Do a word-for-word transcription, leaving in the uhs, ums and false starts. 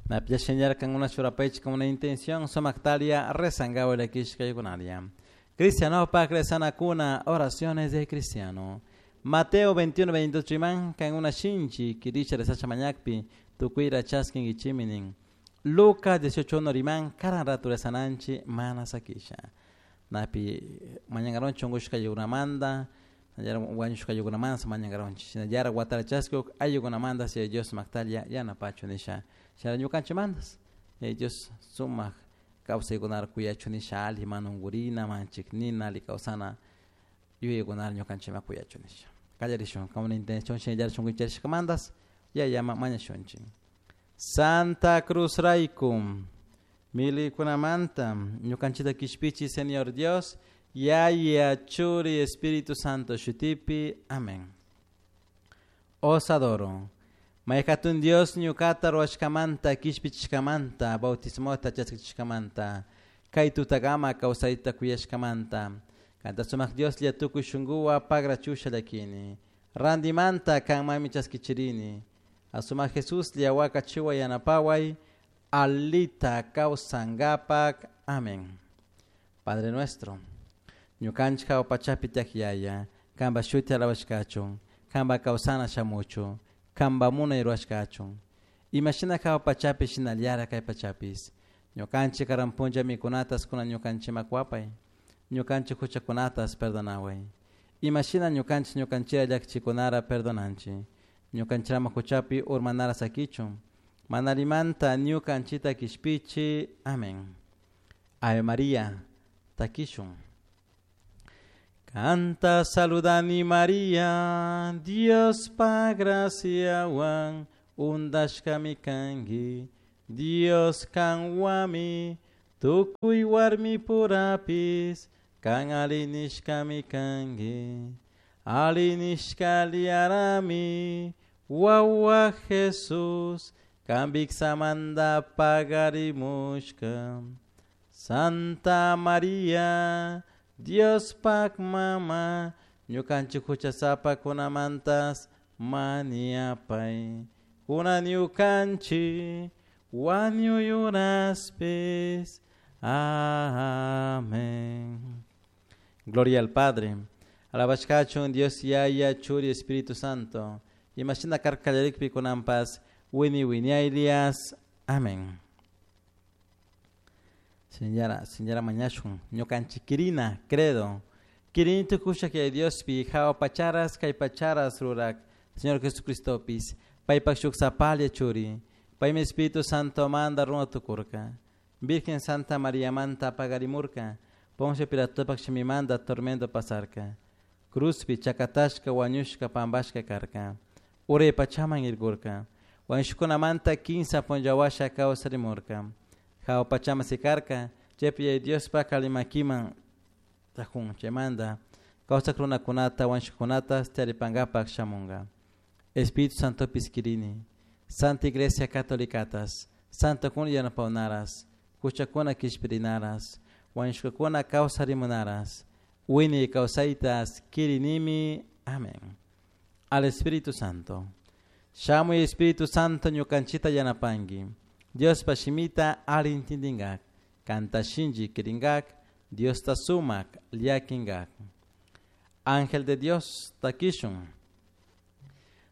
Napia señal una churapaychik una intención sumaqtaria rezangawa llakishkaykunaria. Cristianopak rezanakuna oraciones de cristiano. Mateo veintiuno veintidós riman kan una shinchi kirisha rezacha mañakpi tukuyra chaskinkichiminin. Lucas dieciocho uno riman karan ratu rezananchi mana sakisha. Napi mañangaronchi unkushkaykunamanta wañushkaykunamanta mañangaronchi. Shinallara watara chaskuk ayllunkunamanta si Dios sumaqtalla yanapachu nisha. Shara ñukanchimantas Dios sumaq kawsaykunara kuyachu nisha alli mana unkurina manchiknina alli kawsana yuyaykunara ñukanchikman kuyachu nisha. Kallarishun con una intención shinallara shunkuncharishkamantas yayama mañashunchik. Santa Cruz rayku milikunamanta ñukanchikta kishpichi Señor Dios Yaya Churi Espíritu Santo shutipi. Amén. Os adoro. Mayhatun Dios ñukata ruwashkamanta kishpichishkamanta bautismota chaskichishkamanta kay tutagama kawsayta kuyashkamanta kanta sumaq Dioslla tukuy shunkuwa pagrachusha llakini randimanta kanmanmi chaskichirini asumaq Jesuslla wakachiwa yanapaway alita kawsankapak. Amén. Padre nuestro, ñukanchik hawa pachapi tiyak Yaya, kanpa shuti alabashkachun, kanpa kawsana shamuchun, kanpa munay rurashkachun. Imashina hawa pachapi shinallara kay pachapis. Ñukanchik karan punlla mikunatas kunan ñukanchikman wapay, ñukanchik huchakunatas perdonaway. Imashina ñukanchik ñukanchira llakichikunara perdonanchik. Ñukanchirama huchapi urmanara sakichun. Manarimanta ñukanchita kishpichi. Amén. Ave María, takishun. Canta saludani María, Dios pa graciawan, undashkami kanki, Dios kanwami, tukuy warmi purapis, kan alinishkami kanki, alinishka liarami, wawa Jesús, kan viksamanta pagarimushka. Santa María, Dios pak mama, ñukanchik huchasapakunamantas maniapay, kunan ñukanchik wañuyunaspis. Amén. Gloria al Padre. Alabashkachun Dios Yaya, Churi, Espíritu Santo. Imashina karkallarikpi kunanpas, wini winiaylias. Amén. Señora, señora mañashun, ñukanchikirina, credo. Kirini tukusha que Dios pi hawa pacharas kay pacharas rurak, Señor Jesucristo pis, paypak shuk sapalla churi, paymi Espíritu Santo manda runa tukurka. Virgen Santa María manta pagarimurka, Poncio Pilatopak shimimanta tormento pasarka. Cruzpi chakatashka wañushka pambashka karka. Uray pachaman irkurka. Wañushkunamanta kinsa punllawasha kawsarimurka. Hawa pachaman sikarka, chaypi Diospa kalimakiman tajun chaymanta kawsak runakunata wañushkakunata taripankapak shamunka. Espíritu Santopis kirini, Santa Iglesia Catolicatas, Santo kuna yanapawnaras, huchakuna kishpirinaras, wañushkakuna kawsarimunaras, wini kawsaytas kirinimi. Amén. Al Espíritu Santo. Shamuy Espíritu Santo ñukanchita yanapanki. Diospa shimita alli intindingak, kanta shinchi kiringak, Diosta sumak llakinkak. Ángel de Dios, takishun.